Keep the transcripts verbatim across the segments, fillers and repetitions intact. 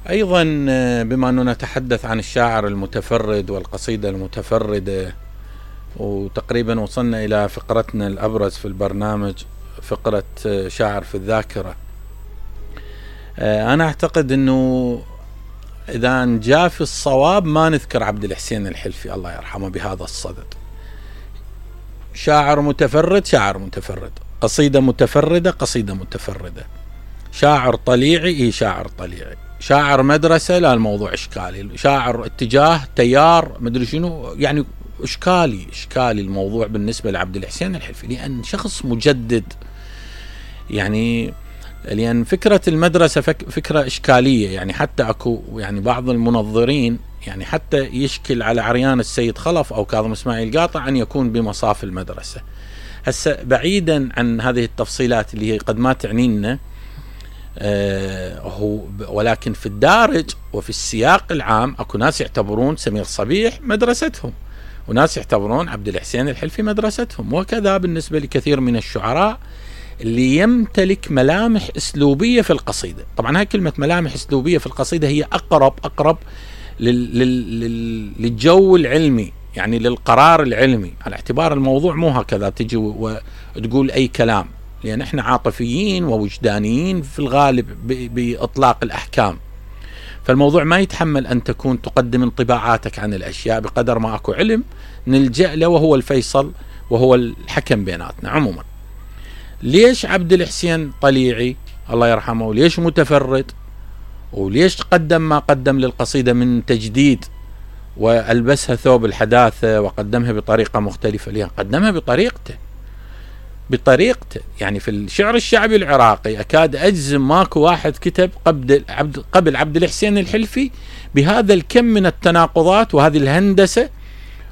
أيضا بما أننا نتحدث عن الشاعر المتفرد والقصيدة المتفردة، وتقريبا وصلنا إلى فقرتنا الأبرز في البرنامج، فقرة شاعر في الذاكرة. أنا أعتقد أنه إذا جاء في الصواب ما نذكر عبد الحسين الحلفي الله يرحمه بهذا الصدد. شاعر متفرد شاعر متفرد، قصيدة متفردة قصيدة متفردة، شاعر طليعي إيه شاعر طليعي، شاعر مدرسة لا الموضوع إشكالي، شاعر اتجاه تيار مدري شنو، يعني إشكالي إشكالي الموضوع بالنسبة لعبد الحسين الحلفي، لأن شخص مجدد. يعني لأن فكرة المدرسة فكرة إشكالية، يعني حتى أكو يعني بعض المنظرين يعني حتى يشكل على عريان السيد خلف أو كاظم إسماعيل قاطع أن يكون بمصاف المدرسة. هسه بعيدا عن هذه التفصيلات اللي هي قد ما تعنينا، آه هو ولكن في الدارج وفي السياق العام اكو ناس يعتبرون سمير صبيح مدرستهم، وناس يعتبرون عبد الحسين الحلفي مدرستهم، وكذا بالنسبة لكثير من الشعراء اللي يمتلك ملامح اسلوبية في القصيدة. طبعا هاي كلمة ملامح اسلوبية في القصيدة هي اقرب اقرب لل لل للجو العلمي، يعني للقرار العلمي، على اعتبار الموضوع مو هكذا تجي وتقول اي كلام، لأن احنا عاطفيين ووجدانيين في الغالب بإطلاق الأحكام. فالموضوع ما يتحمل أن تكون تقدم انطباعاتك عن الأشياء بقدر ما أكو علم نلجأ له، وهو الفيصل وهو الحكم بيناتنا. عموما ليش عبد الحسين طليعي الله يرحمه، وليش متفرد، وليش قدم ما قدم للقصيدة من تجديد وألبسها ثوب الحداثة وقدمها بطريقة مختلفة؟ لأن قدمها بطريقته بطريقته يعني في الشعر الشعبي العراقي أكاد أجزم ماكو واحد كتب قبل عبد قبل عبد الحسين الحلفي بهذا الكم من التناقضات وهذه الهندسة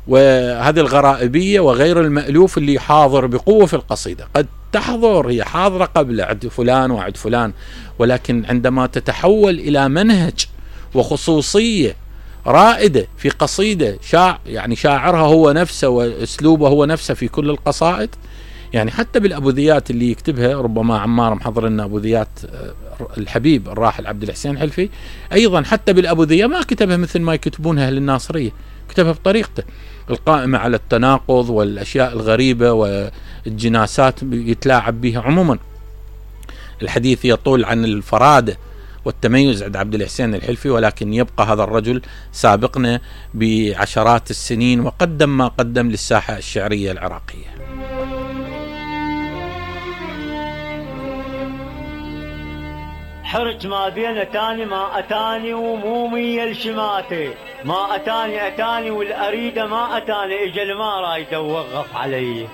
وهذه الغرائبية وغير المألوف اللي حاضر بقوة في القصيدة. قد تحضر هي حاضرة قبل عد فلان وعد فلان، ولكن عندما تتحول إلى منهج وخصوصية رائدة في قصيدة شاع يعني شاعرها هو نفسه وأسلوبه هو نفسه في كل القصائد، يعني حتى بالأبوذيات اللي يكتبها، ربما عمار محضر لنا أبوذيات الحبيب الراحل عبد الحسين الحلفي، أيضا حتى بالأبوذية ما كتبها مثل ما يكتبونها أهل الناصرية، كتبها بطريقته القائمة على التناقض والأشياء الغريبة والجناسات يتلاعب بها. عموما الحديث يطول عن الفرادة والتميز عند عبد الحسين الحلفي، ولكن يبقى هذا الرجل سابقنا بعشرات السنين وقدم ما قدم للساحة الشعرية العراقية. حرج ما بين أتاني ما أتاني ومومي الشماتي، ما أتاني أتاني والأريدة ما أتاني، إجل ما رايده ووقف علي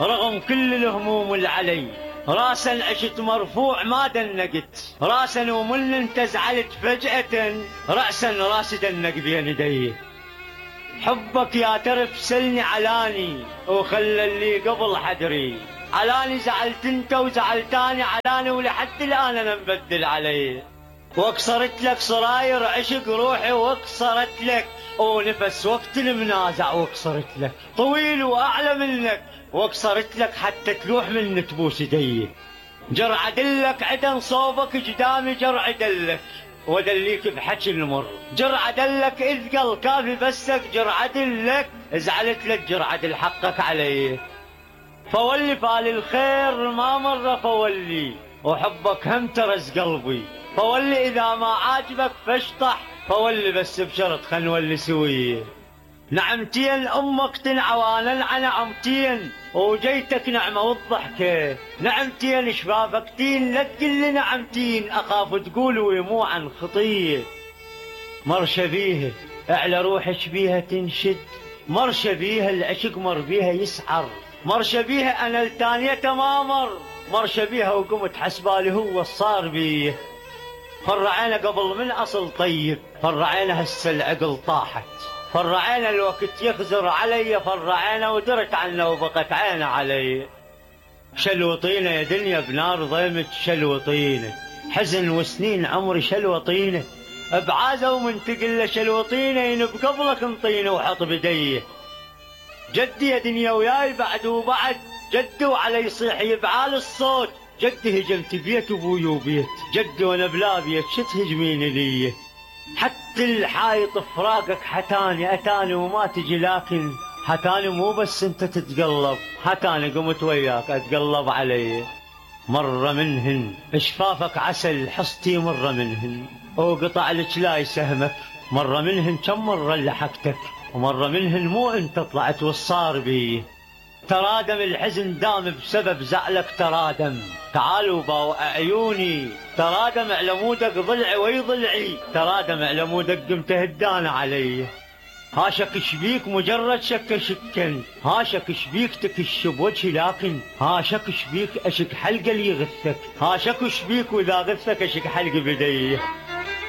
رغم كل الهموم اللي علي، راسا عشت مرفوع ما دنقت راسا ومن انت زعلت فجأة رأسا راس دنق بين يدي، حبك يا ترف سلني علاني وخلى اللي قبل حدري، علاني زعلت انت وزعلتاني علاني ولحد الان انا مبدل علي، واكسرت لك صراير عشق روحي واكسرت لك ونفس وقت المنازع، واكسرت لك طويل واعلى منك واكسرت لك حتى تلوح من تبوس يدي، جرع دلك عدن صوبك قدامي جرع دلك ودليك بحكي المر، جرع دلك اذ قل كافي بسك جرع دلك زعلت لك جرع دل حقك علي، فولي فال الخير ما مر فولي وحبك هم ترس قلبي، فولي اذا ما عاجبك فاشطح فولي بس بشرط خل نولي سويه، نعمتين امك تنعوانا نعمتين وجيتك نعمه والضحكه، نعمتين شبابك تين لا تقول نعمتين اخاف تقول ويمو عن خطيه، مرشه بيها اعلى روحك بيها تنشد، مرشه بيها العشق مر بيها يسعر، مرشه بيها انا التانية تمامر، مرشه بيها وقمت حسبالي هو الصار بيه، فرعينا قبل من اصل طيب فرعينا هسه العقل طاحت، فرعينا الوقت يخزر علي فرعينا ودرت عنه وبقت عينه علي، شلوطينه يا دنيا بنار ضيمت شلوطينه، حزن وسنين عمري شلوطينه، بعازه ومن تقل شلوطينه ينب قبلك انطينه وحط بديه، جدي يا دنيا وياي بعد وبعد جدي وعلي يصيح يبعال الصوت، جدي هجمت بيت ابوي وبيت جدي وانا بلا بيت شو تهجمين لي؟ حتى الحايط فراقك حتاني اتاني وما تجي لكن حتاني مو بس انت تتقلب حتاني قمت وياك اتقلب علي. مرة منهن شفافك عسل حصتي مرة منهن وقطع لك لاي سهمك مرة منهن كم مرة لحقتك ومرة منهن مو انت طلعت والصار بي. ترادم الحزن دام بسبب زعلك ترادم تعالوا باو عيوني ترادم على مودك ضلعي وي ضلعي ترادم على مودك قمت هدان علي. هاشك شبيك مجرد شك شكن هاشك شبيك تكش بوجهي لكن هاشك شبيك اشك حلقه اللي يغثك هاشك شبيك واذا غثك اشك حلقه بديه.